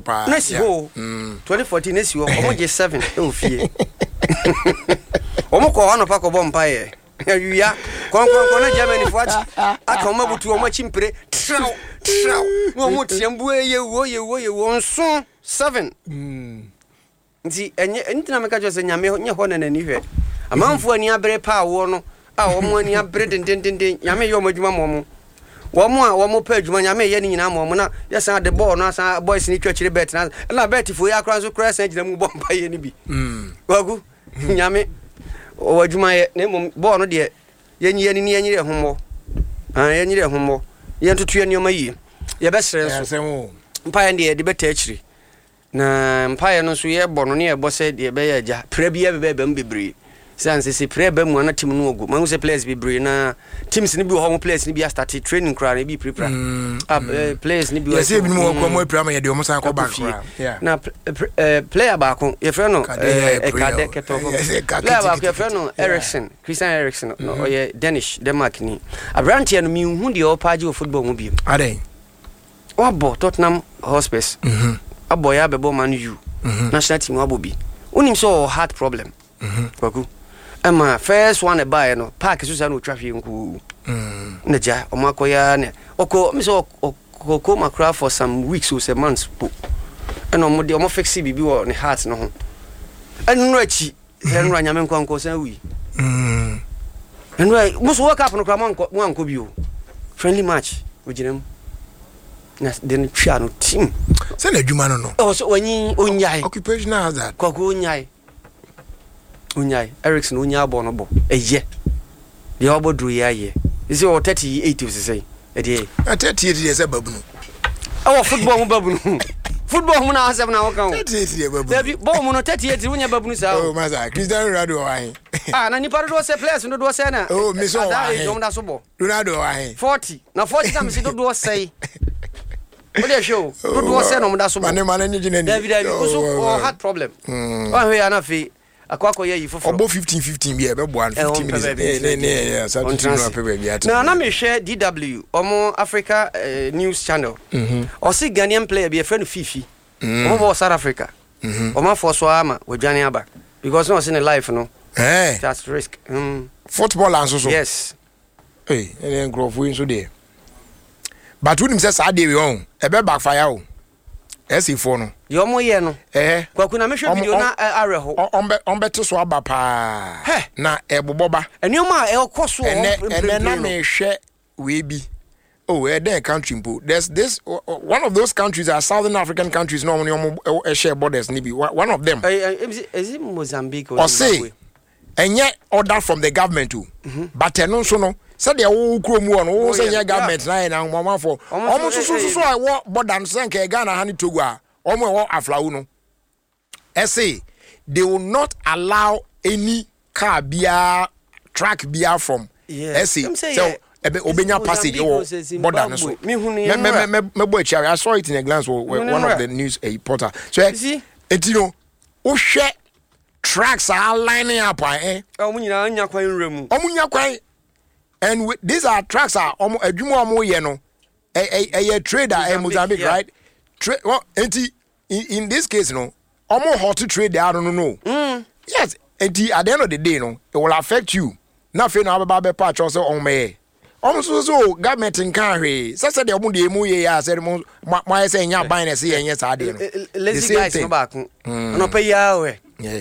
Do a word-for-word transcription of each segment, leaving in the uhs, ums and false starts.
paa. Na si hɔ o, twenty fourteen na si hɔ. Ɔmo gye seven ɛwɔ fie. Ɔmo kɔ hɔ anɔpa kɔbɔ mpaeɛ, awia kɔnkɔnkɔn na Germany fo akyi aka ɔmo abutu ɔmo akyi mpire trɛw trɛw na ɔmo team bu, yɛ wuo, yɛ wuo, yɛ wuo nson seven. Nti ɛnyɛ ɛnti na meka kyerɛ sɛ Nyame nyɛ hɔ na n'ani hwɛ amanfoɔ ani abere paa woɔ no a, wɔn ani abere dendendenden. Nyame yɛ ɔmo adwuma ma ɔmo, wɔn a wɔn pɛ adwuma, Nyame yɛ ne nyinaa ma ɔmo. Na yɛsan de bɔɔl no asan, boys ne twa akyire bet na ɛna bet fo yɛ akora nso kora san gyina mu bɔ mpa yɛ no bi. Wagu Nyame ɔwɔ adwuma yɛ, na mmom bɔɔl no deɛ, yɛnyi yɛni ni, yɛnyere ɛho mmɔ, ah, yɛnyere ɛho mmɔ, yɛntoto yɛ nneɛma yie. Yɛbɛsrɛ nso asɛm o. Mpaeɛ no deɛ, yɛde bɛta akyire, na mpaeɛ no nso yɛbɔ no ne yɛbɔ sɛ deɛ ɛbɛyɛ agya pra bi bɛbɛ mu bebree sɛ ansɛ sɛ pra ba mu ana team no ɔgo mahu sɛ players bebree na teams no bi wɔ hɔ mo players no bi astart training koraa na ebi pirapira. Ah, eh, players no bi wɔ yɛsɛ ebinom wɔ kura mu apira ma yɛde ɔmo san kɔ back fie. Koraa. Yeah. Na pl- pl- eh, player baako yɛfrɛ no Kade yɛ eh, prayer Kade o. Kɛtɔfo. Yɛsɛ ka Player baako kitikiti. yɛfrɛ no Yeah. Eriksen, Christian Eriksen no, ɔyɛ Danish, Denmark ni aberanteɛ no. Menhu deɛ ɔpa agye wɔ football mu biom. Adɛn? Wabɔ Tottenham Hotspurs, abɔ yɛ abɛbɔ Man U, national team wabɔ bi. Wonim sɛ ɔwɔ heart problem, Kwaku, ɛma first one ɛbaeɛ no park so saa na ɔtwa hwee nkuu na gya ɔmo akɔyɛ ne ɔkɔ mi sɛ ɔkɔ coma koraa for some weeks o sɛ months po, ɛna ɔmo de ɔmo fix biribi wɔ ne heart no ho. Ɛno no akyi sɛ ɛnora Nyame nkwankɔ san wui. Ɛnora mo so World Cup no koraa mo ankɔ, mo ankɔ bio. Friendly match ogyina mu na de no twia no team. Sɛ na adwuma no no Ɛwɔ sɛ wanyi onyae. Occupational hazard. Kwaku, onyae, onyae. Eriksen onyaa bɔ no bɔ ɛyɛ deɛ wabɔ duro yi ayɛ sɛ ɔwɔ thirty eight osisɛn ɛdeɛ. Na thirty eight deɛ, sɛ babunu. Ɛwɔ football mu babunu, football mu na asɛm na wɔka o. Thirty eight deɛ, babunu. Dabi, bɔɔl mu no, thirty eight wonyɛ babunu saa oh o. Masa, Cristiano Ronaldo wɔ ahe? Ah, na nipa dodoɔ sɛ players dodoɔ sɛ na Oh, me sɛ ɔwɔ adaa ahe? age ɔmo da so bɔ. Ronaldo wɔ ahe? Forty na forty na mesi dodoɔ sɛe o de hwɛ o, dodoɔ sɛ na ɔmo da so bɔ. Mane mane nye gyina ni. Dabi dabi, o so ɔwɔ heart problem, ɔhwɛ yɛ anafei akɔ akɔyɛ yi foforɔ. Ɔbɔ fifteen fifteen bi a ɛbɛboa no, fifteen minutes ne ne ne yɛ sa tutu no apɛ baabi ate. Na na mehwɛ D W ɔmo Africa eh, news channel. Ɔse Ghanaian player bi yɛfrɛ no Fifi, ɔmo bɔ wɔ South Africa. Ɔmo afɔ so ama wadwane aba because na ɔse ne life no ɛɛ that's risk mm. Football nso so? Yes. Ee, ɛnɛ nkurɔfoɔ yi nso deɛ, but wonim sɛ saa deɛ wei ɔn ɛbɛ backfire o, ɛsɛ foɔ no. Deɛ ɔmo yɛ no. Ɛhɛ. Kwaku, na mehwɛ Ɔmo- video na ɛ, awerɛho. ɔ- ɔmbɛ ɔmbɛte so aba paa. Hɛ! Na ɛbobɔ ba. Nneɛma a ɛkɔ so wɔ ɛnɛ hɔ ɛnɛ na mprempren no. Mehwɛ wei bi oh, ɛdɛn country mpo, there's this o- o- one of those countries are Southern African countries na ɔmo ne ɔmo ɛ- ɛhyɛ borders ne bi. One one of them. Ɛ, ɛ, is it- is it Mozambique or Ɔse Zimbabwe? Ɛnyɛ order from the government o, but ɛno nso no, sɛdeɛ wo kurom wɔ no, wo sɛ nyɛ government na yɛ na ahomafoɔ Ɔmo ɔmo nso nso so ɛ- ɛ- so a ɛwɔ border no, sɛ nka Ghana ha ne Togo a ɔmo ɛwɔ Aflao no, ɛse they will not allow any car biara, truck biara from Yeah. ɛse Ɛm sɛ sɛ yɛ- ɛbɛ obenya passage Mozambique o sɛ ɛwɔ border no so. Zimbabwe. Mehu no mɛ mɛ yɛn mɛ mɛbɔ akyi. I saw it in a glance wɔ wɔ Mehu no one of nwura. the news eh, portal so ɛ You see? Eti no, wohwɛ trucks are lining up a eh Ɛ, ɔmo nyinaa nya kwan nwura mu. Ɔmo nya kwan, and with, these are trucks a ɔmo adwuma a ɔmo yɛ no ɛ ɛ ɛyɛ trade a ɛ Mozambique, Mozambique, yeah. right, trade. Well, eti in, in this case no, ɔmo halt trade a no no no mm. Yes, eti at the end of the day no, it will affect you. Na afei na abɛba abɛpa akyɛw sɛ ɔmo yɛ ɔmo nso so government nka hwee sɛ sɛ deɛ ɔmo deɛ emu yɛ yɛ a sɛ mo mo mo ayɛ sɛ ɛnyɛ aban na ɛsɛ yɛ ɛnyɛ saa deɛ no. Eh, eh, The lazy same guys no thing. baako ɔnɔpɛ yi ara wɛ. Yeah.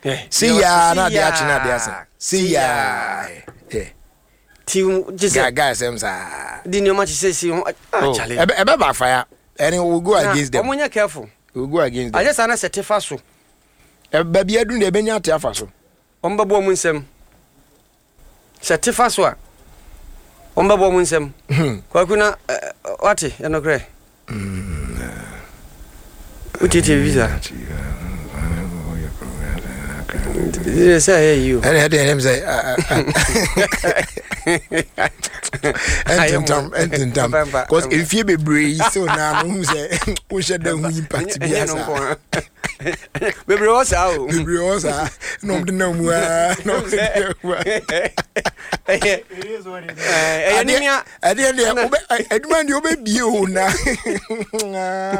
Eh, Si yaa na adeɛ akye na adeɛ asa si yaa yeah. Ti gye guy sɛ guy sɛm saa. De nneɛma kyehyɛ si ho ah. Oh, Chale. ɛbɛ ɛbɛ backfire and it will go Na against them. ɔmo nyɛ careful. It will go against them. Ayɛ saa na sɛ te fa so. Ɛ- baabi aduru deɛ, ɛbɛnya ate afa so. Ɔmo bɛbɔ ɔmo nsɛm sɛ te fa so a, ɔmo bɛbɔ ɔmo nsɛm. Kwaku, na ɛ, ɛ, wate ɛnokorɛ wotietie bi saa sɛ ɛyɛ yi o. ɛne ɛde ɛnɛm sɛ ɛntentam ɛntentam cause mfie bebree yi still naa no hu sɛ wohyɛ da hu impact bi Ɛnyɛ no asa. nko ara. Bebree wɔ saa o. Bebree wɔ saa na ɔmo de nam mu aa na ɔmo de nam mu aa. Ɛyɛ ɛyɛ nimia. Ɛdeɛ deɛ wobɛ adwuma deɛ wobɛbie o na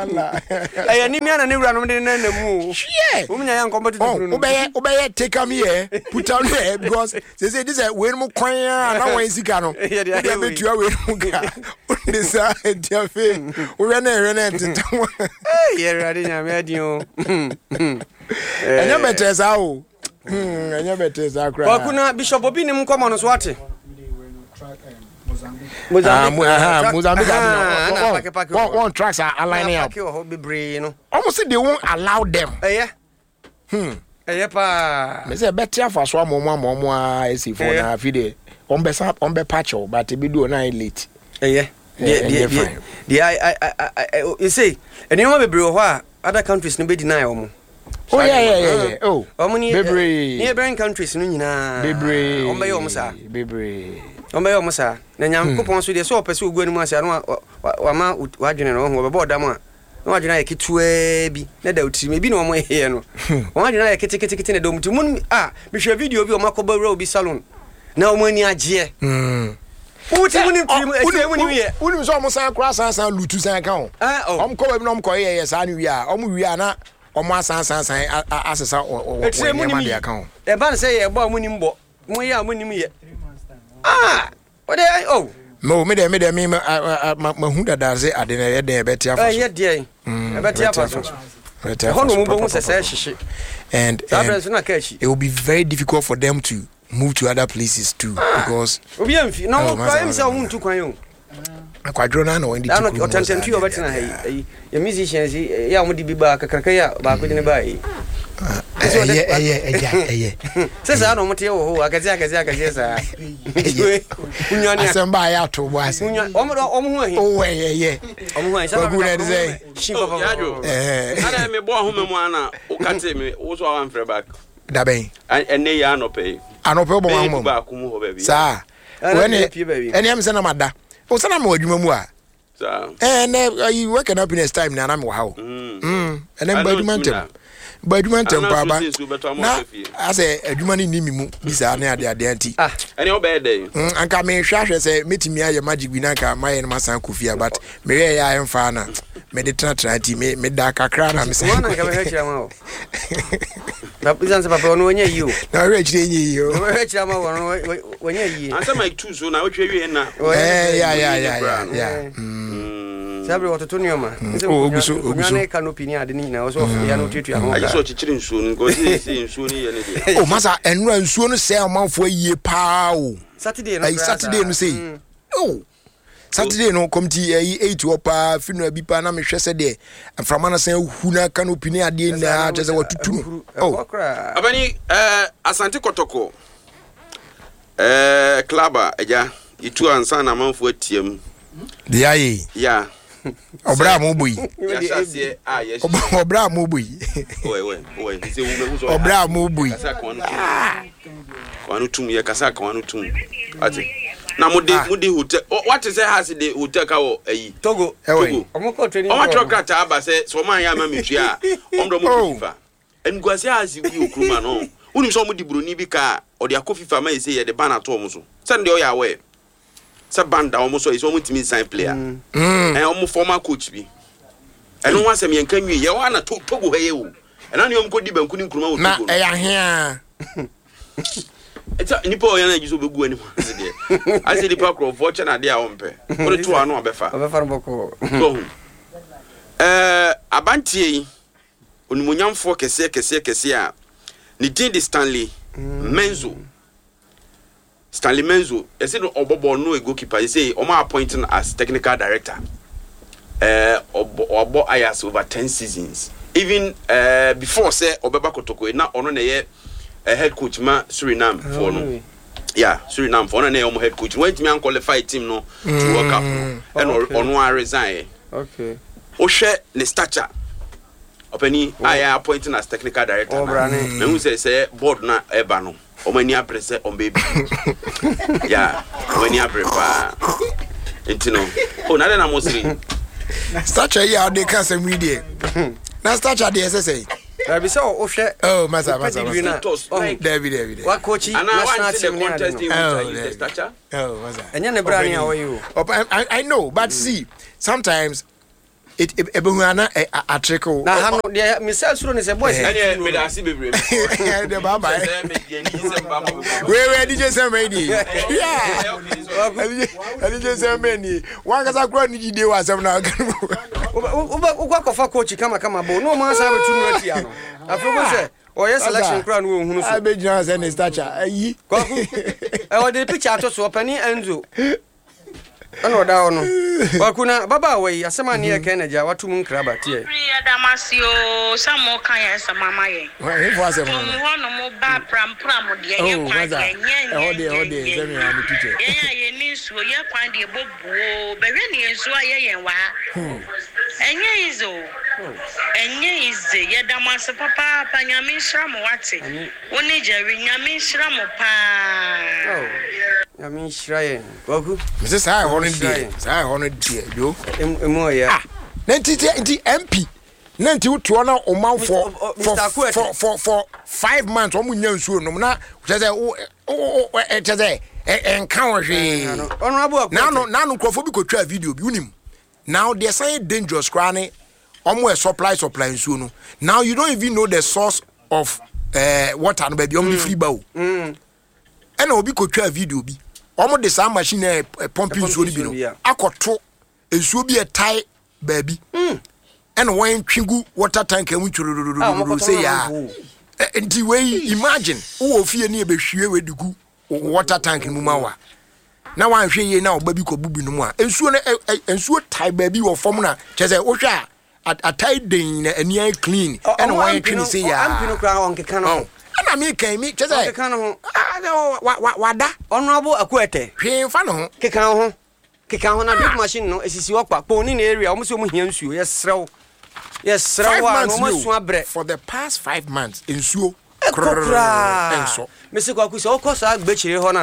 ala. Ɛyɛ nimia na ne wura nom de ne nam mu o. Hwɛ. Wɔn nyinaa yɛ nkɔmɔ tutu Oh, kunu no. wobɛyɛ wobɛyɛ take am here, put am here, because sɛ sɛ di sɛ wei no mu kwan a na wɔn sika no Yɛde ayɛ wode wei. abɛtua wei no mu ka wode saa nti afei wohwɛ na ɛhwɛ na ɛnteta ho. Ee, yɛ Awurade Nyame adi o. Ɛnyɛ bɛtɛ saa o. Hmm, ɛnyɛ bɛtɛ saa koraa. Kwaku na Bishop Obi nim nkɔmɔ no so ate. Ah, Mo- aha, Track- Mozambique Aha, ade na no pake pake wɔn wɔ hɔ. wɔn tracks are Na aligning up. pake wɔ hɔ bebree no. Ɔmo sɛ they won't allow them. Ɛyɛ. Hmm. Ɛyɛ paa. Mɛ sɛ ɛbɛte afa so ama ɔmo ama ɔmo a esi fo Ɛyɛ. na afi deɛ ɔmo bɛ sa ɔmo bɛ pakyɛw, but ebi du ɔno ayɛ late. Ɛyɛ. Eh, Deɛ deɛ ɛnyɛ deɛ fine. deɛ I I I I I say nneɛma bebree wɔ hɔ a other countries no bɛ deny wɔn. Oh, yeah yeah yeah yeah oh. Wɔn ni Bebree. neighboring countries no nyinaa. Bebree. Wɔn bɛyɛ wɔn saa. Bebree. Wɔn bɛyɛ wɔn saa. Na Nyankopɔn so deɛ sɛ ɔpɛ sɛ ogu anim ase ano a wa- wama wadwene no ɔho ɔbɛbɔ ɔdam a na wadwene ayɛ ketewaa bi na da otirim ebi na wɔn yɛ no wɔn adwene ayɛ ketekete na da wɔn tirim mu a mehwɛ video bi a wɔn akɔbɔ wura obi salon na wɔn ani agyeɛ. Mm. Wote mu nim tirim ɛtirim mu nim yɛ. Wonim sɛ ɔmo san kora san san lutu san ka ho. Ah, oh. Ɔmo kɔ baabi na ɔmo kɔ yɛ yɛ saa no wie a, ɔmo wie a na ɔmo asan san san a- a- asesa ɔ- ɔ- Ɛtirim wɔ mu nim nneɛma de yi aka ho. ɛba no sɛ yɛ bɔ a mu nim bɔ mo yɛ a mu nim yɛ ah wɔde oh. Mo me deɛ me deɛ me ma a- a- ma ma hu dada sɛ ade na ɛyɛ den ɛbɛte afa so. Ɛyɛ deɛ Mm, ɛbɛte afa so. Ɛbɛte afa Ɛhɔ na so wɔn bɛhu papa, sɛ sɛ papa. ɛhyehye And saa abirɛ and nso na aka akyi. it will be very difficult for them to move to other places too, because Obi amfi na Oh, wɔn masa, kura ɛmi sɛ masa, wɔn ntu kwan o. Akwadworɔ no ana wɔn de ti Daa no kurom hɔ saa ɔtɛntɛntu yɛ deɛ, ɔbɛtena ha deɛ, yi ayi yɛ musicians yi yɛ a wɔn de bi ba kakraka yi a baako de ne ba yi. Ɛyɛ ɛyɛ ɛyɛ ɛyɛ. Sɛ saa na wɔn te wɔ hɔ akɛseɛ akɛseɛ akɛseɛ saa. Wunwane a Asɛm ba a yɛ ato bɔ ase. wunwane wɔn de wɔn ho ahi. Oh, ɛyɛ ɛyɛ. Wɔn ho ahi. Kwaku na ɛde sɛ. Hyin Oh, papa. Yadwo. Ɛɛ. Ana mebɔ ahoma mu ana wokate me wo so a wamfrɛ back. Dabɛn? Ɛ- ɛnɛ yi anɔpɛ yi. Anɔpɛ wobɔ bɛyɛ wɔn du ahoma mu. baako mu hɔ baabi. Saa. Ɛna Ɛne pie baabi. ɛne ɛm sɛ na ma da o sɛ na ma wɔ adwuma mu a. Saa. Ɛɛ nɛ ayi work and happiness time na na mi wɔ ha o. Mm. Mm, ɛnɛ Ana mba adwuma ntumi ntɛm na. Mba adwuma ntɛm Ana paa ba nso sɛ nsuo bɛtɔ ama na ɔhwɛ fie. asɛ adwuma no nni mi mu bi saa ne ade adeɛ nti. Ah. Ɛne wobɛyɛ dɛn? Mm, anka mehwɛ ahwɛ sɛ mɛtumi ayɛ magic bi na anka mayɛ no masan kɔ fie a, but mehwɛ yɛ a ɛmfa na mede tenatena nti me- meda kakra na mesɛ Wɔn na nka bɛhwɛ kyerɛ ma o. Papa sɛ papa ɔno wɔnyɛ yie o. Na ɔhwɛ akyirɛ nyɛ yie o. Wɔhwɛ kyerɛ ma wɔn wɔnyɛ yie. Ansa mike two so na wotwa wie na Eh, ya ya ya Bra ya no. ya. Mm. Saa bere wɔtoto nneɛma. Oh, ogu so, ogu so. Nkonnwa ne canopy ne ade ne nyinaa wɔsɛ ɔfo ya no otuatua ho. Agye sɛ Ka. ɔkyekyere nsuo no nka ɔsɛ sɛ nsuo no yɛ ne deɛ. Oh, masa, ɛnora nsuo no sɛ ɔmanfoɔ yie paa o. Saturday no Ɛyi koraa Saturday saa. no sei. Mm. Oh, Saturday no kɔmti ɛyi eight hɔ paa funeral bi paa na mehwɛ sɛ deɛ mframa no san hu na canopy ne adeɛ nyinaa kyerɛ sɛ wɔtutu no. Oh. Ɛkɔ koraa. Abani eh, Asante Kɔtɔkɔ eh, club a agya yɛtu ansa na amanfoɔ atiam. Deɛ ayɛ yi ya ɔbrɛ a mobɔ yi. Yɛahyɛ aseɛ a yɛhyɛ Ɔbrɛ a mobɔ yi. Ɔwɛ, ɔwɛ, ɔwɛ. Sɛ wo bɛhu sɛ ɔyɛ Ɔbrɛ a mobɔ yi. Kasa kawa no tum kawa no tum yɛ kasa kawa no tum ate na mo de Ah. mo de hotel ɔ- wate sɛ ha se de hotel ka wɔ ayi. Togo. Ɛwɔ yi. Togo. Ɔmo kɔ training. Ɔmo atwerɛ ground. krataa aba sɛ sɛ ɔmo anyɛ ama metua a ɔmo de ɔmo Oh. kɔ FIFA animguase a ase wi wɔ kurom ano. Wonim sɛ ɔmo de buroni bi ka a ɔde akɔ FIFA ma yɛ sɛ yɛde ban ato ɔmo so sɛne deɛ ɔyɛ awɛ sɛ ban da ɔmo so a yɛ sɛ ɔmo ntumi nsan player. Mm. Ɛn ɔmo former coach bi ɛno ho asɛm yɛnka nwie yɛwɔ ana To- togo ha yɛ o ɛna ne ɔmo kɔdi banku ne nkuruma wɔ Na Togo no. ɛyɛ ahea. Ɛsɛ nipa a ɔyɛ no agye sɛ ɔbɛgu anim ase deɛ asɛ nipa korɔfoɔ kyɛ no adeɛ a ɔmpɛ wode to ano a ɔbɛfa. Ɔbɛfa no bɔkɔɔ. So ɛɛ abanteɛ yi onimonyamfoɔ kɛseɛ kɛseɛ kɛseɛ a ne din de Stanley Menzo. Stanley Menzo yɛsɛ no ɔbɔ bɔɔl no yɛ goalkeeper. Yɛsɛ ɔmo appoint no as technical director. Ɛɛ ɔbɔ ɔbɔ Ajax over ten seasons, even ɛɛ before sɛ ɔbɛba Kotoko yi, na ɔno na ɛyɛ ɛ head coach ma Suriname foɔ no. Yeah, Suriname foɔ ɔno na ɛyɛ ɔmo head coach. Wɔntumi anqualify team no to World Cup no ɛna Okay. ɔno a resign yɛ. Okay. Wohwɛ ne stature, ɔpani a yɛ appointing as technical director na Ɔbra ne. mehu sɛ sɛ board na ɛba no ɔmo ani abere sɛ ɔmo bɛbi ya ɔmo ani abere paa nti no o na dɛ na mo sere. Stature yi a ɔde ka asɛm yi deɛ na stature deɛ ɛsɛ sɛ Dabi sɛ wohwɛ. Oh, masa masa pedigree masa. na ɔho. Dabi dabi dabi. Wakɔkyi And I national want to see team the ne ade contest no. in which Oh, I use the dabi. stature. Oh, masa. Ɛnyɛ ne bra ne a ɔyɛ o. Oh, I, I, I know, but see, sometimes it it ebehu ana atreke o. Na ha no deɛ mesɛ suro ne sɛ boys Eh. Ɛne mede ase bebree. De bye bye. Sɛ me deɛ ni sɛ mba mo bebree. Wei wei D J sɛmɛ ni. Yeah. Okay, so- D J sɛmɛ ni. Wankasa kura ni jide wa asɛm na aka no. Wokɔ akɔfa coach kamakama bo na ɔma asa bɛtu no atia no, afei wo sɛ ɔyɛ selection koraa no wɔhunu so. Abegyina sɛ ne stature ayi. Kwaku, ɛwɔ de picture ato so, ɔpani Enzo ɛna ɔda hɔ no. Kwaku, na babaawa yi asɛm a ne yɛ kɛn na gya wato mu nkraba teɛ. Firi yɛdamase o sɛ moka yɛn nsɛm ama yɛn. Hefo asɛm Tom no. hɔ nom ba prampram deɛ yɛ Oh, kwan masa. deɛ nyɛ Ɛhɔ deɛ ɛhɔ deɛ sɛ mi na mi teacher. Yɛn a yɛni nsuo, yɛ kwan deɛ bɔbuo bɛhwɛ ne yɛn nsuo a yɛ yɛn wɔ ha, ɛnyɛ easy o, ɛnyɛ easy. Yɛda mo ase papaapa. Nyame nhyira mo, wate? Wo ne Jerry, Nyame nhyira mo paa. Oh, Nyame nhyira yɛn, Kwaku. Mese saa ɛhɔ no Nhyira deɛ yɛn. saa ɛhɔ no deɛ yo. Emu emu ɔyɛ. Ah, na nti nti nti M P na nti wotoɔ na ɔmanfoɔ Mister oh, for Mister Akuete. for for for five months wɔn nya nsuo nom na kyerɛ sɛ wo wo wo ɛ kyerɛ sɛ ɛ ɛnka wɔn hwee. Honorable Akuete. Naano naano nkurɔfoɔ bi kotwa video bi, wonim now deɛ san yɛ dangerous koraa ne ɔmo yɛ supply supply nsuo no. Now you don't even know the source of uh, water no, baabi ɔmo de firi ba o. Ɛna obi kotwa video bi, ɔmo de saa machine ɛ ɛ pump nsuo no bi nsuo bi no a. Akɔto nsuo bi ɛtae baabi ɛna wɔn twi gu water tank mu Ah, ɔmo twororororo kɔtɔn sɛ na yaa. ɔmo Ɛ, nti wei, imagine wowɔ fie ne yɛbɛhwie wei de gu wo water tank no mu ma wa na wanhwɛ yie na ɔba bi kɔbu bi no mu a, nsuo no ɛ- ɛ- nsuo tae baabi wɔ fam na kyerɛ sɛ wohwɛ a at- atae den na ani ayɛ clean ɛna wɔn twi ne se yaa. M P no koraa ɔnkeka no ho. Ɔn. Ɛna mi kan mi kyerɛ sɛ Ɔnkeka no ho. Ah, na wa- wa- wada Honorable Akuete. Hwee nfa ne ho. Keka ho, keka ho na drip machine no esisi hɔ kwa kpɔn ne ne area. Ɔmo sɛ ɔmo hia nsuo, yɛsrɛ wo, yɛsrɛ Five wo a na months ɔmo ni asu o. abrɛ. For the past five months nsuo Ɛkɔ koraa. ɛnsɔ. Mesi Kwaku sɛ wokɔ saa gbɛkyire hɔ no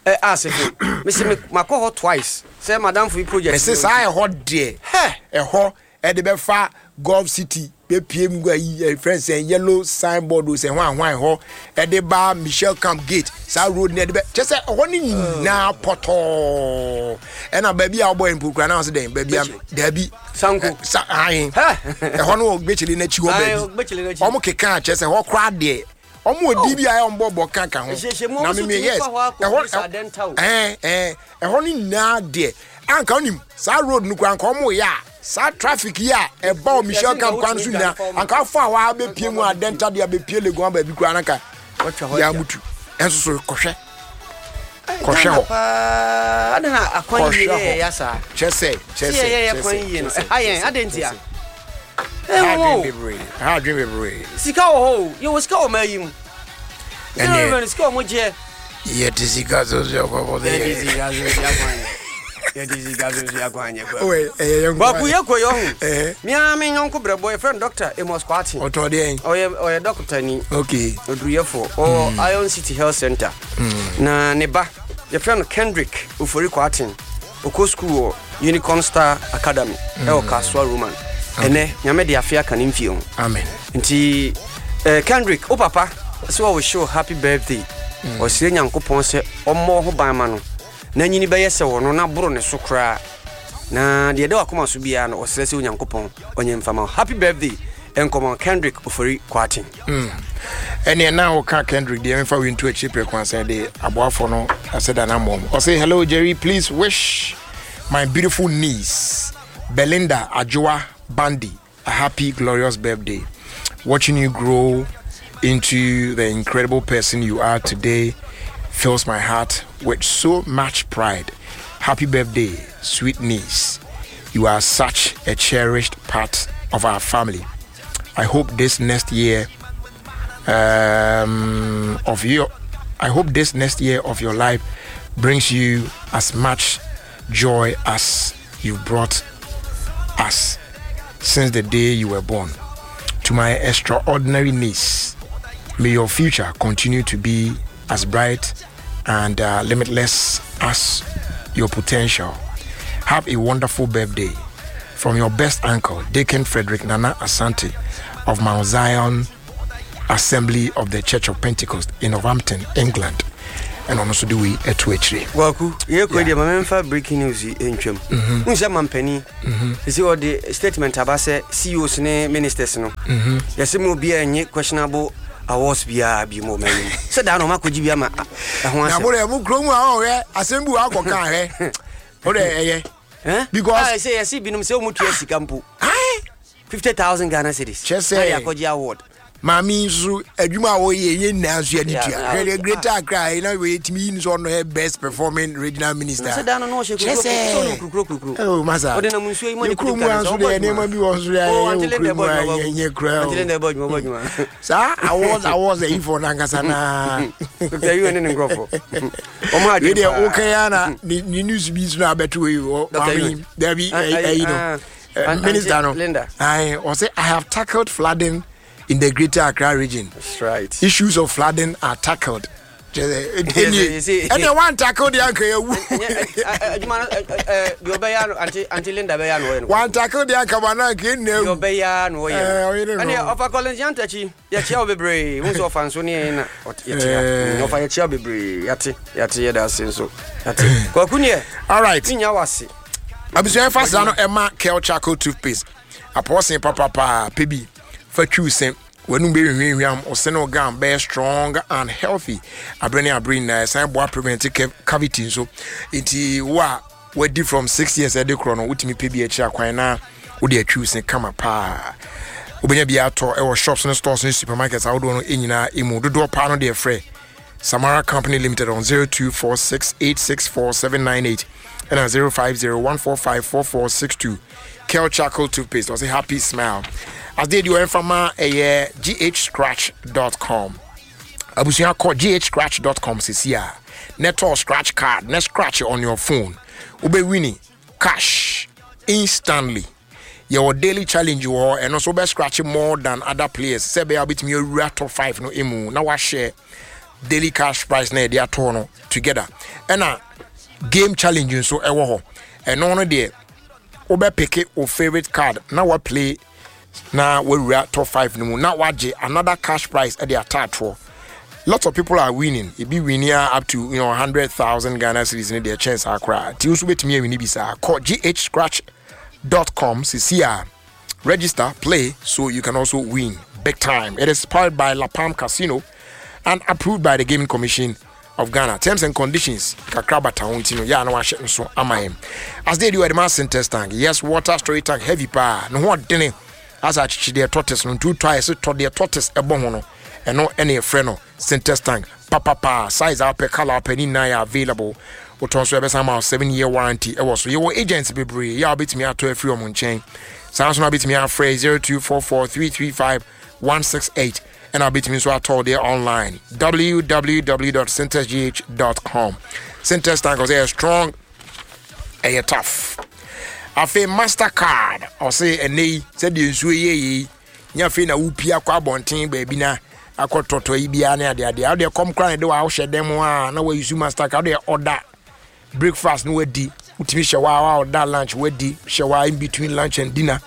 a ɛ asefo mesi me makɔ hɔ twice sɛ madamfo yi project. Mese saa ɛhɔ deɛ Hɛ! ɛhɔ ɛde bɛfa Golf City bɛpie mu ayi ɛ friend sɛ yellow signboard o sɛ hwan hwan hɔ ɛde ba Michel Camp gate, saa road ne ɛde bɛ kyɛ sɛ ɛhɔ ne nyinaa pɔtɔɔ. Ɛna baabi a wɔbɔ mpo kura naa ɔsɛ dɛn baabi a daabi. Sanko. Ɛ, sa ahen. Hɛ! Ɛhɔ no wɔ gbɛkyele n'akyi hɔ. Ae, Baabi Gbɛkyele n'akyi. ɔmo keka kyɛ sɛ ɛhɔ koraa deɛ ɔmo wɔ di bi a ɛyɛ ɔmo bɔ bɔ kanka ho. Ɛhyehyɛ mu, ɔmo Na nso mimi tumi yes fa hɔ akɔ ɛhɔ police adɛnta o. ɛɛ ɛɛ ɛhɔ no nyinaa deɛ anka onim saa road no kora anka ɔmo yɛ a saa traffic yi a ɛba wɔ Michel Yɛse Camp nka kwan so wotumi nyinaa dwane fam. anka afɔ a waa bɛpie mu adɛnta deɛ abɛpie Legon baabi koraa nanka Wɔtwa hɔ yɛ agya. amutu ɛnso so kɔhwɛ kɔhwɛ hɔ. Paa adɛn na akwan yie Kɔhwɛ yɛ hɔ. yɛ saa Kyɛ sɛ kyɛ sɛ sɛ yɛyɛ kyɛ kwan sɛ, yie no kyɛ sɛ, ɛha yɛn kyɛ sɛ, adɛn ntia? kyɛ sɛ. Ɛha Ɛwɔ adwen o. Bebree ɛha adwen bebree. Sika wɔ hɔ o, yɛwɔ sika wɔ maa yi mu. Ɛneɛ- Sika sika ɔmo gyeɛ. Yɛte sika so so kɔkɔ sɛ Yɛde yɛ sika so si akwan yɛ, yɛde sika so si akwan yɛ kwa. Ɔyɛ ɛyɛ yɛn Kwaku, yɛ kɔ yɛ ɔho. Ɛhɛ. Mia me nyɔnko brɛbɔ yɛfrɛ no Doctor Amos Kwaten. Ɔtɔn deɛ. Ɔyɛ ɔyɛ dɔkota ni. Okay. Oduruyɛfoɔ ɔwɔ Iron City Health Center na ne ba yɛfrɛ no Kendrick Ofori Kwaten, ɔkɔ school wɔ Unicorn Star Academy ɛwɔ Kasoa Roman. Ɛnɛ Nyame de afe aka ne mfie ho. Amen. Nti eh, Kendrick, wo papa sɛ wɔwo show happy birthday. Ɔsrɛ Nyankopɔn sɛ ɔmmɔ ho ban ma no na nyini bɛyɛ sɛ wɔ no na boro ne so koraa na deɛ ɛda wakoma so biara no, ɔsrɛ sɛ Onyankopɔn ɔnyɛ mfama wo. Happy birthday ɛnkɔmɔ Kendrick Ofori Kwaten. Ɛneɛ na woka Kendrick deɛ, memfa wei nto akyiri prɛko asɛ de aboafoɔ no asɛ da no mmɔm. Ɔse, "Hello Jerry, please wish my beautiful niece Belinda Ajoa Bandi a happy glorious birthday. Watching you grow into the incredible person you are today fills my heart with so much pride. Happy birthday, sweet niece. You are such a cherished part of our family. I hope this next year um, of your I hope this next year of your life brings you as much joy as you've brought us since the day you were born. To my extraordinary niece, may your future continue to be as bright and uh, limitless as your potential. Have a wonderful birthday. From your best uncle, Deacon Frederick Nana Asante of Mount Zion Assembly of the Church of Pentecost in Northampton, England. And ɔno nso de wei ɛto akyire. Kwaku, yɛkɔ deɛ, ma memfa breaking news yi ntwam. Wohu sɛ mampani ɛsɛ ɔde statement aba sɛ C E Os ne ministers no, yɛsɛ ma obiaa nye questionable awards biaa bi mu ɔma anim sɛ daa na ɔmakɔgye bi ama a- ɛho Na asɛm. mo de mo kurom a ɔhwɛ asɛm bi wɔ akɔka hwɛ o de ɛyɛ Eh? because Ah, sɛ yɛse binom sɛ ɔmutua sika mpo ayi fifty thousand Ghana cedis Kyerɛ sɛ- na yɛ akɔgye award. Maame yi nso adwuma a wɔyɛ yɛ nyinaa nso yɛde Yeah, tua. yeah. Hwɛ deɛ, Greater Accra yi na wɔyɛ yi nso ɔno yɛ best performing regional minister. Sɛ daa no na ɔhyɛ Kyerɛ kurukuro sɛ- sɛ ɔno kurukuro kurukuro. Oh, masa. Ɔde nam nsuo yi mu ne Yɛ kurom kutu a nso deɛ nneɛma bi wɔ nso deɛ Oh, yɛyɛ Auntie wɔ Linda kurom a bɔ adwuma. yɛnyɛ kura Auntie Linda o. bɔ adwuma, bɔ adwuma. Saa awards awards ayi fɔ nankasa naa. Doctor Yiwe ne ne nkurɔfoɔ ɔmo Wei adwene deɛ paa. woka ya na ne ne news bi nso na abɛto wei wɔ Doctor maame yi Yiwe. dabi. Ah, Ɛyi ah, no ah, Eh, Aunt- minister Auntie no Linda. ayi ɔsɛ, "I have tackled flooding in the Greater Accra Region." That's right. Issues of flooding are tackled. Yes, you see. Ɛnna one tackle deɛ anka yɛ wu. Ɛnyɛ- ɛ- ɛ- adwuma no ɛ- ɛ- ɛ, deɛ ɔbɛyɛ ano Auntie Auntie Linda bɛyɛ ano ɔyɛ no. One tackle deɛ anka ma na anka yɛ Deɛ nna ewu. ɔbɛyɛ ano ɔyɛ Eh, ɔyɛ no. no. Ɛne ɔfa Collins Yantakyi, yɛkyia wo bebree. Wo nso ɔfa nso ne yɛn na ɔt- yɛkyia. Eh. Mm, ɔfa yɛkyia wo bebree. Yɛate, yɛate, yɛda ase nso. Yɛate. Kwaku neɛ. All right. Menya wase. Abusua, fa saa no ɛma Kel Charcoal toothpaste apɔɔsen papapaa pɛ bi fa twiw se w'anum bɛhwehwɛhwam ɔse ne wo gum bɛyɛ strong and healthy aberɛ ne aberɛ nyinaa. Ɛsan boa prevent ca- cavity nso. Nti wo a wadi from six years ɛde korɔ no, wotumi pɛ bi akyiri akwan na wode atwiw se kama paa. Wobɛnya bi atɔ ɛwɔ shops ne stores ne supermarkets ahodoɔ no nyinaa ɛmu. Dodoɔ paa no deɛ, frɛ Samara Company Limited on zero two four six eight six four seven nine eight and on zero five zero one four five four four six two. Kel Charcoal Toothpaste or say happy smile. As they do ɛmfama ɛyɛ G H scratch dot com. Abusua, kɔ G H scratch dot com sisi a netɔ scratch card ne scratch on your phone. Wobɛwini cash instantly. Yɛwɔ daily challenge wɔ hɔ. Ɛno nso wobɛ scratch more than other players sɛ ɛbɛyɛ a wobɛtumi awura top five no mu na wahyɛ daily cash prize na yɛde ato no together. Ɛna game challenge nso ɛwɔ hɔ. Ɛno no deɛ, wobɛpick wo favorite card na waplay na wawura top five no mu na wagye another cash prize ɛde ataatoɔ. Lots of people are winning. Ebi winning up to you know hundred thousand Ghana cedis ne deɛ kyɛn saa koraa. Ti nso bɛtumi awini bi saa. Kɔ G H scratch dot com sisi a register, play so you can also win big time. It is powered by Lapam Casino and approved by the Gaming Commission of Ghana. Terms and conditions kakra bata ho nti no yɛ a na wahyɛ nso ama yɛn. As they do ɛde ma Syntest tank. Yes, water storage tank, heavy paa ne ho ɔdene asa akyekye deɛ tortoise no ntu tɔ a yɛsɛ tɔ deɛ tortoise ɛbɔ ho no. Ɛno ɛne yɛfrɛ no Syntest tank papapa. Size a wopɛ, colour a wopɛ ne nyinaa yɛ available. Wotɔn so ɛbɛsan ma wo seven year warranty ɛwɔ so. Yɛwɔ agents bebree yɛ a wobɛtumi atɔ afiri ɔmo nkyɛn. Saa nso na wobɛtumi afrɛ zero two four four three three five one six eight ɛna wobɛtumi nso atɔ deɛ online, W W W dot syntestgh dot com. Syntest tank, ɔsɛ ɛyɛ strong, ɛyɛ tough. Afei Mastercard ɔse ɛnɛ yi sɛdeɛ nsuo yɛ yi nyɛ afei na wopia kɔ abɔnten baabi na akɔtɔtɔ yi biara ne adeadeɛ. Wodeɛ kɔm kora ne de wa wohyɛ dɛm a na wayisu Mastercard. Wodeɛ ɔda breakfast no wadi, wotumi hyɛ wa wa ɔda lunch wadi, hyɛ wa in between lunch and dinner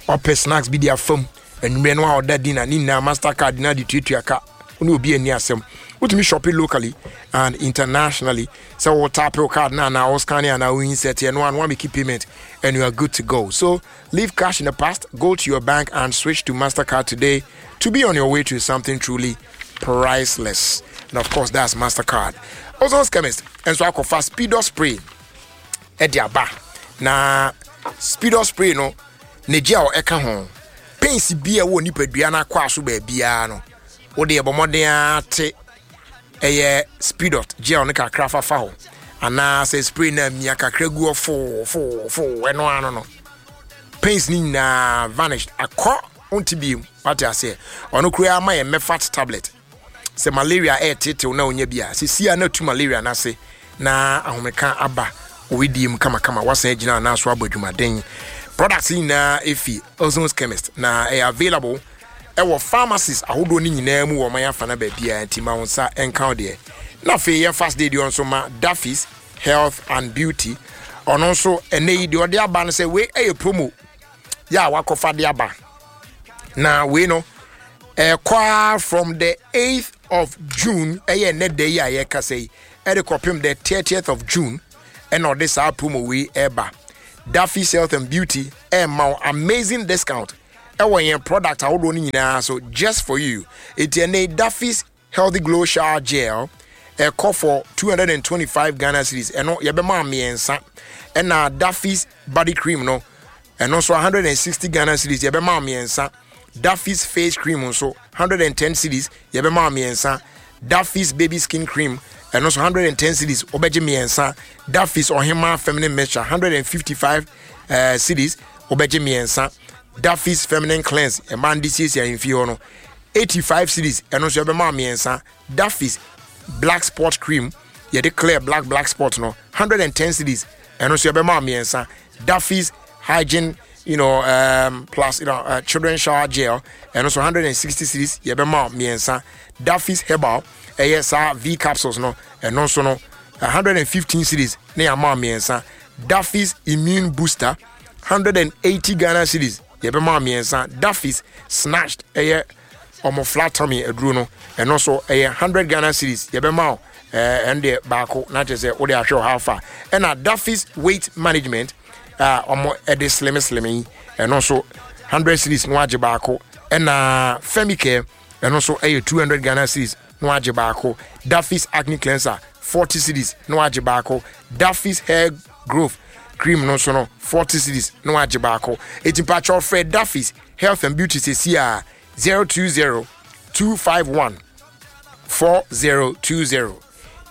ɔpɛ snacks bi de afam. Anwummerɛ no a ɔda dinner ne nyinaa Mastercard na de tuatua ka wo ne obi ani asɛm. Wotumi shopping locally and internationally sɛ wo tap wo card na anaa wo scan anaa wo insert ɛno ano make payment and you are good to go. So leave cash in the past, go to your bank and switch to Mastercard today to be on your way to something truly priceless. And of course, that's Mastercard. Ozon's Chemist nso akɔfa Speedo spray ɛde aba. Na Speedo spray no ne gye a ɛka ho pains bi a ɛwɔ nipadua no akɔ aso baabiara no, wode ɛbɔ mmɔden ara te ɛyɛ Speedot gel no kakra fafa hɔ anaa sɛ spray no amia kakra gu hɔ foo foo foo. Ɛno ano no pains no nyinaa vanished akɔ, wonte biem. Wate aseɛ? Ɔno koraa ama yɛ Mefat tablet sɛ malaria ɛɛtetew na onya bi a sisi a na tu malaria n'ase na ahomeka aba owedie mu kamakama. Wasan agyina anaa so abɔ adwumaden. Products yi nyinaa efi Ozon's Chemist na ɛyɛ available ɛwɔ pharmacies ahodoɔ no nyinaa mu wɔ ɔman afa na baabiara. Nti ma wo nsa ɛnka wo deɛ. Na afei yɛn fast day deɛ nso ma Daffy's Health and Beauty. Ɔno nso ɛnɛ yi deɛ ɔde aba no sɛ wei ɛyɛ promo. Yɛ a wakɔfa de aba na wei no ɛkɔ from the eighth of June, ɛyɛ nnɛ da yi a yɛkasa yi, ɛde kɔpem the thirtieth of June, ɛna ɔde saa promo wei ɛba. Daffy's Health and Beauty ɛma wo amazing discount ɛwɔ yɛn product ahodoɔ no nyinaa so just for you. Eti ɛnɛ Daffy's Healthy Glow Shower Gel ɛkɔ for two hundred and twenty-five Ghana cedis, ɛno yɛbɛma mmiɛnsa. Ɛna Daffy's Body Cream no, ɛno nso one hundred and sixty Ghana cedis, yɛbɛma mmiɛnsa. Daffy's Face Cream nso one hundred and ten cedis, yɛbɛma mmiɛnsa. Daffy's Baby Skin Cream, ɛno nso one hundred and ten cedis, wobɛgye mmiɛnsa. Daffy's Ɔhema Feminine Mixture, one hundred and fifty-five uh, cedis, wobɛgye mmiɛnsa. Daffy's Feminine Cleanse, ɛmaa no de siesie ahemfie hɔ no, eighty-five cedis, ɛno nso yɛbɛma mmiɛnsa. Daffy's Black Spot Cream, yɛde clear black black spot no, one hundred and ten cedis, ɛno nso yɛbɛma mmiɛnsa. Daffy's Hygiene you know um, plus you know, uh, children shower gel, ɛno nso one hundred and sixty cedis, yɛbɛma mmiɛnsa. Daffy's Herbal, ɛyɛ saa V capsules no, ɛno nso no one hundred and fifteen cedis ne yɛama mmiɛnsa. Daffy's Immune Booster, one hundred and eighty Ghana cedis, yɛbɛma mmiɛnsa. Daffy's Snatched, ɛyɛ ɔmo flat tummy aduro no, ɛno nso ɛyɛ one hundred Ghana cedis, yɛbɛma wo ɛɛ ɛno deɛ baako na kyerɛ sɛ wode ahwɛ ɔha fa. Ɛna Daffy's Weight Management a ɔmo ɛde slim slim yi, ɛno nso one hundred cedis na wagye baako. Ɛna Femicare, ɛno nso ɛyɛ two hundred Ghana cedis na wagye baako. Daffy's Acne Cleanser, forty cedis na wagye baako. Daffy's Hair Growth Cream no nso no, forty cedis na wagye baako. Eti mpakyɛw, frɛ Daffy's Health and Beauty sesi a zero two zero two five one four zero two zero,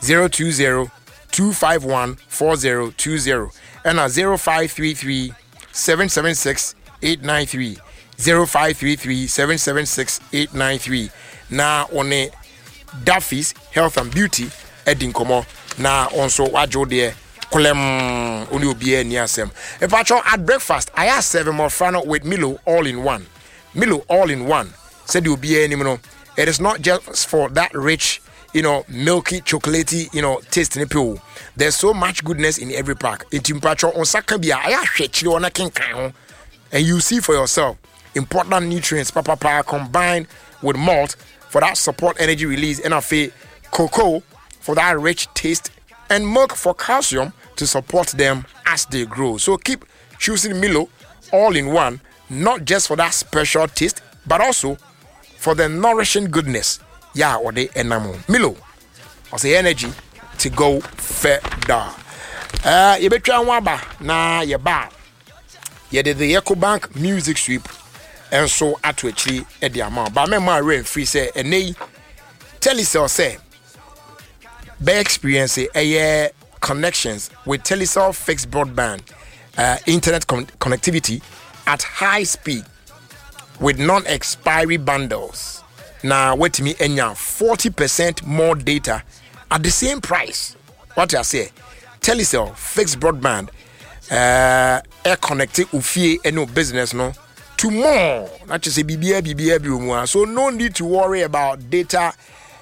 zero two zero two five one four zero two zero, ɛna zero five three three seven seven six eight nine three, zero five three three seven seven six eight nine three, na wɔne Daffy's Health and Beauty adi nkɔmmɔ na wɔn nso wagye wo deɛ kolɛm, wo ne obiara ani asɛm. Mpakyɛw, at breakfast ayɛ asɛve mmɔfra no with Milo all in one. Milo all in one, sɛdeɛ obiara anim no, it is not just for that rich you know milky, chocolatey you know taste ne pill. There's so much goodness in every pack. Nti mpakyɛw, nsa ka bi a ayɛ ahwɛ akyire hɔ na kenkan ho and you see for yourself important nutrients papapa combined with malt for that support energy release, and afei cocoa for that rich taste, and milk for calcium to support them as they grow. So keep choosing Milo all in one, not just for that special taste, but also for the nourishing goodness. Yeah, or the enamo. Milo, or energy to go further. Uh, yɛbɛtwa ho aba na yɛba a yɛde the Ecobank Music Sweep nso ato akyiri de ama wo ba. Mɛma awerɛ mfiri sɛ ɛnɛ yi Telecel sɛ bɛyɛ experience ɛyɛ connections with Telecel fixed broadband uh, internet con connectivity at high speed with non-expiry bundles, na watumi anya forty percent more data at the same price. What I say, Telecel fixed broadband uh, air connect ofie ɛne business no to more, na kyerɛ sɛ biribiara biribiara bi wɔ mu a, so no need to worry about data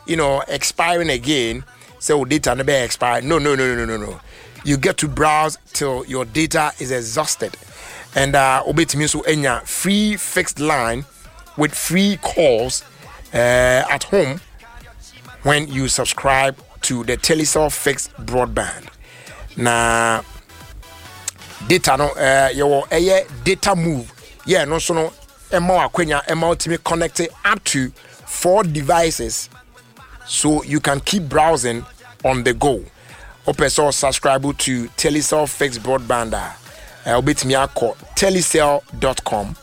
you know expiring again. So data no bɛ expire. No, no, no, no, no, no. You get to browse till your data is exhausted. And uh wobɛtumi nso anya free fixed line with free calls uh, at home when you subscribe to the Telecel fixed broadband. Na data no, uh, yɛwɔ ɛyɛ data move yɛ no nso no, ɛma wo akwanya ɛma wotumi connect up to four devices so you can keep browsing on the go. Wopɛ sɛ subscribe to Telecel fixed broadband a, wobɛtumi akɔ telecel dot com,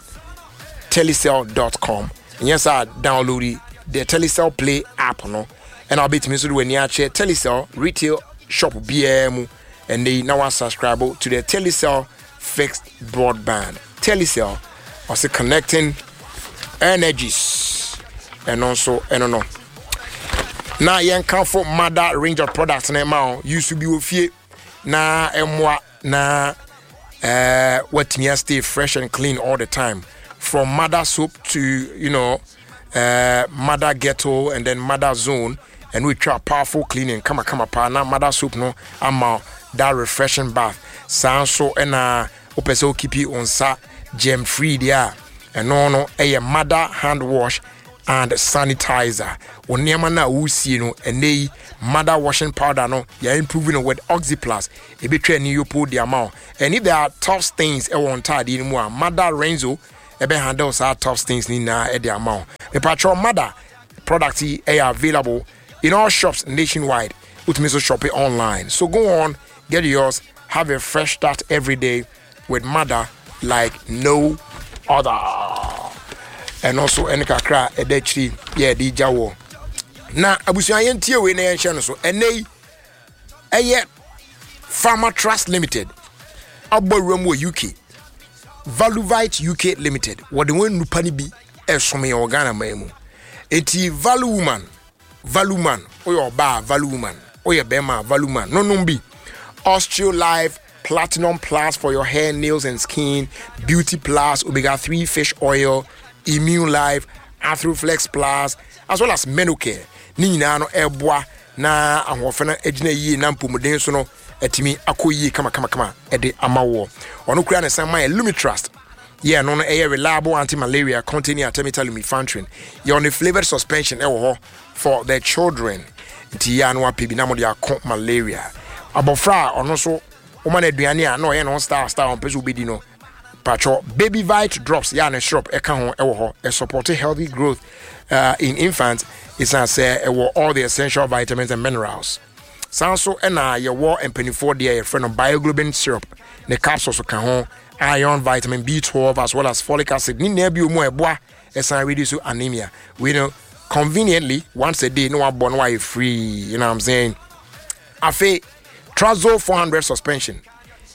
telecel dot com. Nyɛ saa, download the Telecel Play app no, ɛna wobɛtumi nso de w'ani akyerɛ Telecel retail shop biara mu ɛnɛ yi na wasubscribe to the Telecel fixed broadband. Telecel ɔsɛ connecting energies. Ɛno nso ɛno no na yɛnkamfo Mother range of products na ɛma wo use bi wɔ fie na ɛmmoa na uh, watumi stay fresh and clean all the time, from Mother soap to you know uh, Mother Ghetto and then Mother Zone, and we try powerful cleaning kama kama pa na Mother soap no ama that refreshing bath. Saa nso ɛna wopɛ sɛ wokeepi wo nsa Germ free deɛ a ɛno no ɛyɛ Mother hand wash and sanitizer. Wo nneɛma no a wosie no, ɛnɛ yi Mother washing powder no, yɛ improve no with Oxyplus, ɛbɛtwa ani yopo de ama wo. And if there are tough stains ɛwɔ ntaadeɛ no mu a, Mother Renzo ɛbɛ handle saa tough stains ne nyinaa ɛde ama wo. Mepatwɛ, Mother product yi ɛyɛ available in all shops nationwide. Wotumi nso shop it online. So go on, get yours, have a fresh start every day with Mother like no other. Ɛno nso ɛne kakra a ɛda akyiri yɛ ɛde gya wɔ na abusua. Yɛntie wei na yɛnhyɛ no so. Ɛnɛ yi ɛyɛ Pharma Trust Limited abɔ awura mu wɔ U K. Valuvite U K Limited, wɔde wɔn nnupa no bi ɛsom yɛn wɔ Ghana man mu. Eti Value Woman, Value Man, woyɛ ɔbaa, Value Woman, woyɛ bɛrima, Value Man nonom bi. Osteo Life Platinum Plus for your hair, nails and skin, Beauty Plus, omega three fish oil, Immune Life, Arthroflex Plus, as well as Menocare. Ne nyinaa no ɛboa na ahoɔfɛ no agyina yie na mpɔmuden so no atumi akɔ yie kamakamakama ɛde ama woɔ. Ɔno kura ne san ma yɛ Lumitrust yɛ no no ɛyɛ reliable anti-malaria containing artemether lumefantrine. Yɛ ɔne flavored suspension ɛwɔ hɔ for the children. Nti yɛ ano apɛ bi na mode ako malaria. Abɔfra a ɔno nso woma no aduane a na ɔyɛ ne ho style style, ɔmpɛ sɛ wobɛdi no, patwɔ Baby Vite Drops yɛ a ne syrup ɛka ho ɛwɔ hɔ. Ɛsupport healthy growth uh, in infants, ɛsiane sɛ ɛwɔ all the essential vitamins and minerals. Saa nso ɛna yɛwɔ mpanimfoɔ deɛ, yɛfrɛ no Bioglobin syrup, ne capsules ka ho, iron, vitamin B twelve as well as folic acid ne nyinaa bi wɔ mu a ɛboa ɛsan reduce anemia. Wei no conveniently once a day na wabɔ na wayɛ free, you know what I'm saying? Afei Trazol four hundred suspension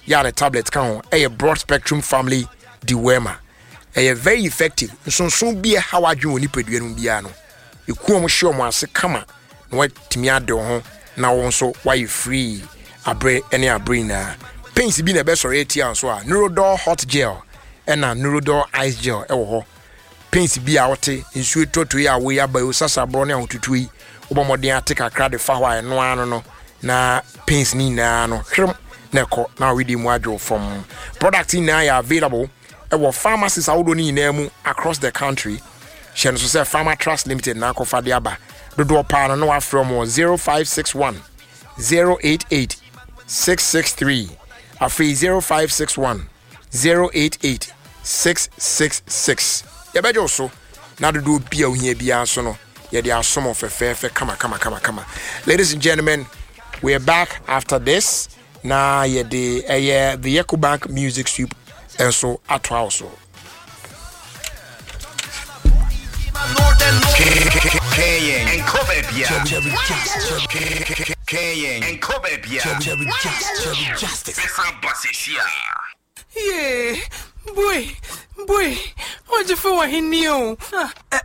yɛ a ne tablet ka ho, ɛyɛ broad spectrum family dewormer, ɛyɛ very effective. Nsonson bi ɛha wadwen wɔ nipadua no mu biara no, eku wɔn hyɛ wɔn ase kama na watumi ade wo ho na wɔn nso wayɛ free abere ne abere nyinaa. Pains bi na ɛbɛsɔre atia nso a, Neurodol hot gel ɛna Neurodol ice gel ɛwɔ hɔ. Pains bi a wote nsuo tɔtɔ yi a woyi aba yi, sasaborɔ ne ahotutuo yi, wobɔ mmɔden ate kakra de fa hɔ a, ɛno ano no na pains ne nyinaa no hwerem na ɛkɔ na wɔde mu adwo fam. Product nyinaa yɛ available ɛwɔ pharmacies ahodoɔ no nyinaa mu across the country. Hyɛ no so sɛ Pharma Trust Limited na akɔfa de aba. Dodoɔ paa no na wafrɛ mu zero five six one zero eight eight six six three, afei zero five six one zero eight eight six six six. Yɛbɛgye wo so na dodoɔ bi a wohia biara nso no, yɛde asom fɛfɛɛfɛ kama kama kama kama. Ladies and gentlemen, we are back after this na yɛde ɛyɛ the Ecobank Music Soup nso atoa wo so. Kaying and Kobe Kaying and Kobe Justice. Yeah, boy, boy, ɔgyefo wɔ henni o.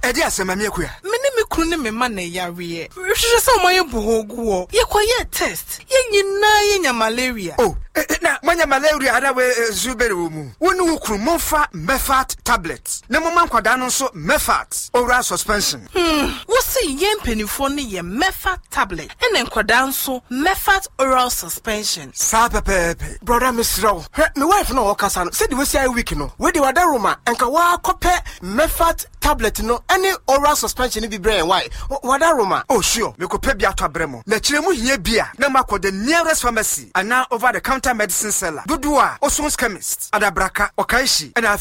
Ɛde asɛm, Mami Akua? Me ne me kunu ne me ma na ɛyareɛ. Hwehwɛ sɛ ɔma yɛ bɔ gu hɔ. Yɛkɔyɛɛ test. Yɛn nyinaa yɛnya malaria. O, na moanya malaria ana? We nsu bɛre wɔ mu. Wo ne wo kunu momfa Mefat tablet na momma nkwadaa no nso Mefat oral suspension. Hmm, wosi yɛn mpanimfoɔ no yɛ Mefat tablet ɛna nkwadaa nso Mefat oral suspension. Saa pɛpɛɛpɛ. Brother, mesrɛ wo, hwɛ me wife na ɔkasa no sɛde wasi ayɛ week no, wede wada Roma ɛnka woakɔpɛ Mefat tablet no ɛne oral suspension no bi brɛ yɛn wae, wada Roma. Oh sure, mekɔpɛ bi atɔ abrɛ mo na kyerɛ mu hia bi a na makɔ the nearest pharmacy anaa over the counter medicine seller dodoɔ a Osons Chemist, Adabraka, Ɔkaehyi ɛna